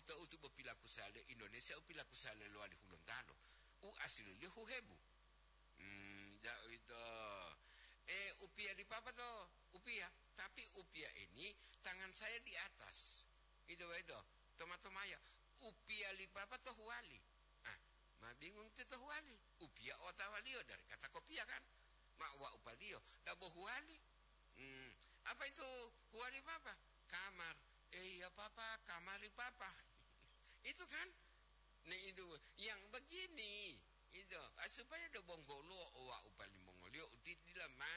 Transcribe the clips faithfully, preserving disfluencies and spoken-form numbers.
to utubo pilakusale Indonesia, u pilakusale lowali Hulontalo. U asililiyo huhebu. Hmm, ja uwito. Eh, upiya li papa to, upiya. Tapi upiya ini tangan saya di atas. Ito, ito. Toma-tomaya. Upiya li papa to huwali. Ah, ma bingung ti to huwali. Upiya otawaliyo dari kata kopiya kan? Ma wa upaliyo. Dabo huwali. Hmm. Apa itu huwali papa? Kamar. Eh, iya papa, kamari papa. Itu kan? Nah, itu yang begini. Itu, ah, supaya do bonggolo owa upalimongoliyo uti dila ma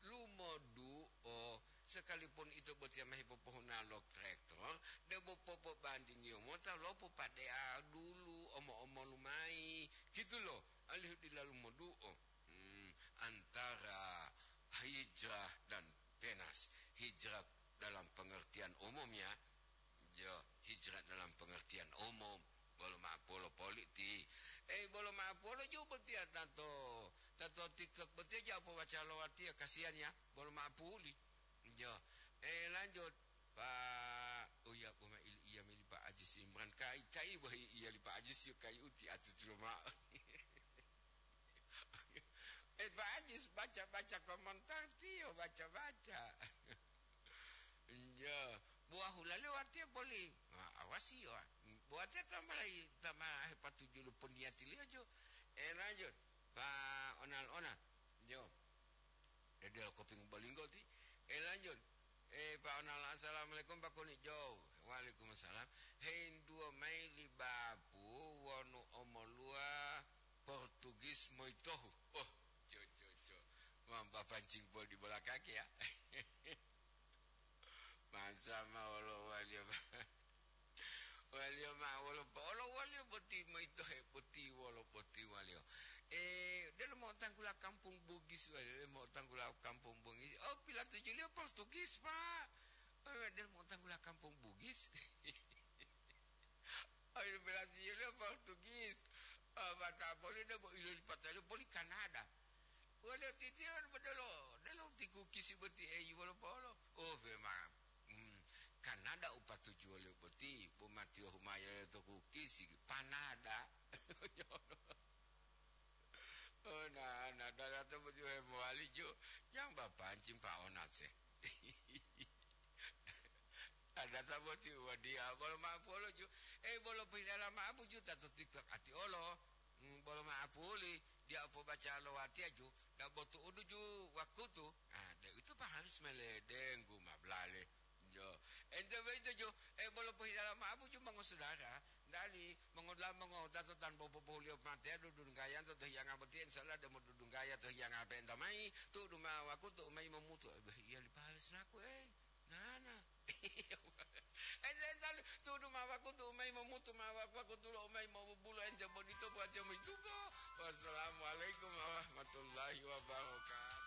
lumoduo, sekalipun ito botiya ma hepopohuna lo traktor, debo popobandingiyo mota lo popade'a dulu omo-omolu mayi, gitu lo, alihu dila lumoduo. Hmm, antara hijrah dan penas. Hijrah dalam pengertian umum ya, jo, hijrah dalam pengertian umum. Bolo ma'apolo politi. Eh, bolo ma'apolo ju botiya tanto, tanto TikTok botiya ja pobaca lo watiya, kasihan ya. Bolo ma'apuli. Jo. Eh, lanjut. Pak, oh ya, boma ili iya mili Pak Ajis Imran. Kai, kai, wah iya li Pak Ajis yo kai uti atu tiro ma'o. Eh, Pak Ajis baca-baca komentar tiyo, baca-baca. Iya, buah hulaliyo watiya boli. Ah, awasi yo. Buatiya tamalayi, tama hepatuju lo poniyatiliyo jo. Eh, lanjut. Pak Onal Onal. Jo. Dede lo koping bolinggo ti. Eh, lanjut. Eh, Pak Onal, assalamualaikum, Pak Kuni Jo. Waalaikumsalam. Hintuwo mayi li bapu wonu omoluwa Portugis moyitohu. Oh, jo, jo, jo. Wah, bapancing bol di bola kaki ya. Masa ma wolo waliyo, waliyo ma wolo po-, wolo waliyo boti moyitohe boti wolo boti waliyo. Eh, delo mo'otanggula kampung Bugis waliyo, delo mo'otanggula kampung Bugis. Oh, pilatujuliyo Portugis, Pak. Eh, delo mo'otanggula kampung Bugis. Ayo, berarti dia Portugis. Ah, mata boleh dah buat ilo di patah boleh Kanada. Boleh titian bedelo, delo tiku kisi beti eh wala polo. Oh, memang. Hmm, Kanada upatuju wali beti, bu mati humaya to ku kisi panada. Oh, nah, nah, dada to beti mowali jo. Yang bapancing pa onase. Adata boti wadiya bolo ma'apolo ju. Eh, bolo pohilala ma'apu ju tato TikTok ati olo. Hmm, bolo ma'apuli, dia pobaca lo watiya ju, da botu udu ju wakutu. Ah, de itu pa harus meledenggu mablale. Jo. Ente beito ju, eh, bolo pohilala ma'apu ju mongosudara. Dali, mongodula mongotato tanpa popolio mate dudunggaya to hiyanga boti, insya Allah demo dudunggaya to hiyanga penta mai, tu'udu ma wakutu mai momutu. Eh, bah, iya li pahale selaku, eh. Nana. Ente entali tudu ma wakutu umai momutu ma wakutu lo umai mobubulo ente bodito buat jamu itubo. Wassalamualaikum warahmatullahi wabarakatuh.